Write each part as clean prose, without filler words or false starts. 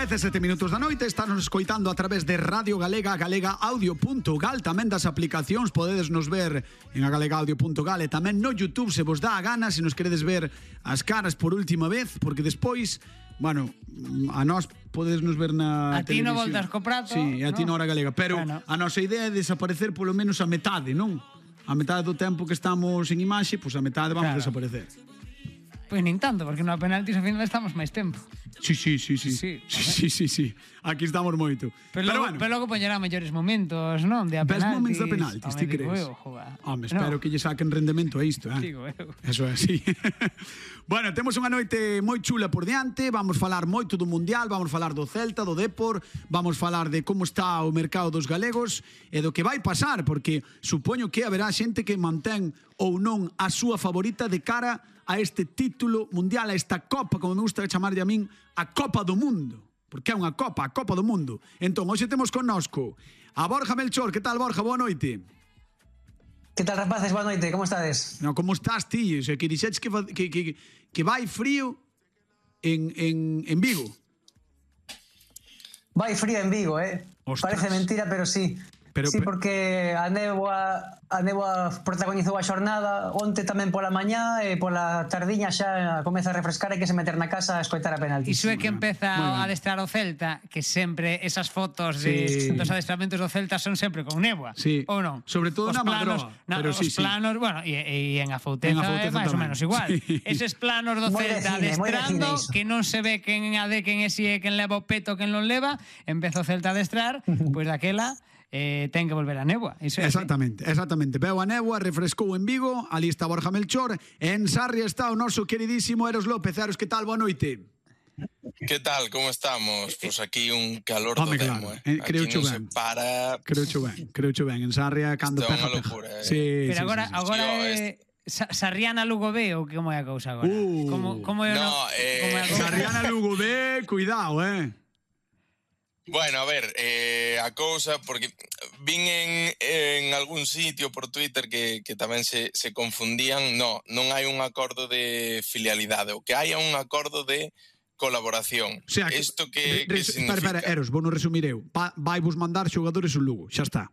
17 minutos da noite, estános escoitando a través de Radio Galega, galegaaudio.gal, tamén das aplicacións, podedes nos ver en galegaaudio.gal e tamén no YouTube se vos dá a gana, se nos queredes ver as caras por última vez, porque despois, bueno, a nós podedes nos ver na a ti televisión. non voltas co prato. Sí, a ti na Hora Galega, pero bueno, a nosa idea é desaparecer polo menos a metade, non? A metade do tempo que estamos en imaxe, pois a metade vamos desaparecer. Pois nin tanto, porque no penaltis ao final estamos máis tempo. Sí. Aquí estamos moito. Pero logo poñerá mellores momentos, non? De a penaltis. Ves momentos de penaltis, ti crees? Home, espero que lle saquen rendemento a isto, Digo eu. Eso é así. Bueno, temos unha noite moi chula por diante, vamos falar moito do Mundial, vamos falar do Celta, do Depor, vamos falar de como está o mercado dos galegos e do que vai pasar, porque supoño que haberá xente que mantén ou non a súa favorita de cara a este título mundial, a esta Copa, como me gusta chamarlle a min, a Copa do Mundo. Porque é unha Copa, a Copa do Mundo. Entón, hoxe temos connosco a Borja Melchor. Que tal, Borja? Boa noite. Que tal, rapaces? Boa noite, como estades? No, como estás, ti? O sea, que dixetes que vai frío en Vigo. Vai frío en Vigo, Ostras. Parece mentira, pero sí. Sí, porque a néboa protagonizou a xornada onte tamén pola mañá e pola tardiña xa comeza a refrescar e que se meter na casa a escoitar a penaltis. Iso é que empeza a adestrar o Celta, que sempre esas fotos dos adestramentos do Celta son sempre con néboa, ou non? Sobre todo na Madroa. Os planos, bueno, e en Afouteza é máis ou menos igual. Eses planos do Celta adestrando, que non se ve quen é quen leva o peto, quen non leva, empeza o Celta a adestrar, pois daquela ten que volver a néboa. Exactamente. Veo a néboa, refrescou en Vigo, ali está Borja Melchor, en Sarria está o noso queridísimo Eros López. Eros, que tal? Boa noite. Que tal? Como estamos? Pois aquí un calor do demo, Creo aquí non se para. Creo ben. En Sarria, cando pega. Isto é unha locura, Pero agora é Sarriana Lugo B, ou como é a cousa agora? Como é a cousa? Sarriana Lugo B, cuidado, Bueno, a ver, a cousa, porque vin en algún sitio por Twitter que tamén se confundían. Non hai un acordo de filialidade, o que hai é un acordo de colaboración. O sea, isto que significa? Espera, Eros, vou non resumir eu. Vai vos mandar xogadores o Lugo, xa está.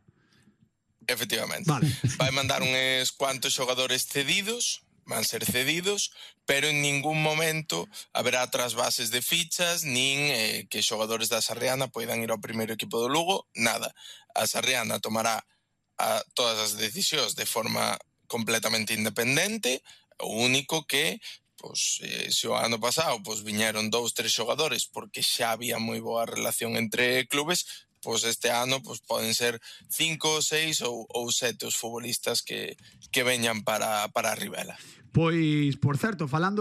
Efectivamente. Vale. Vai mandar uns cuantos xogadores cedidos, van ser cedidos, pero en ningún momento haberá trasvases de fichas, nin que xogadores da Sarriana poidan ir ao primeiro equipo do Lugo, nada. A Sarriana tomará todas as decisións de forma completamente independente, o único que, se o ano pasado viñeron 2-3 xogadores porque xa había moi boa relación entre clubes, este ano poden ser 5, 6 ou 7 os futbolistas que veñan para a Ribela. Pois, por certo, falando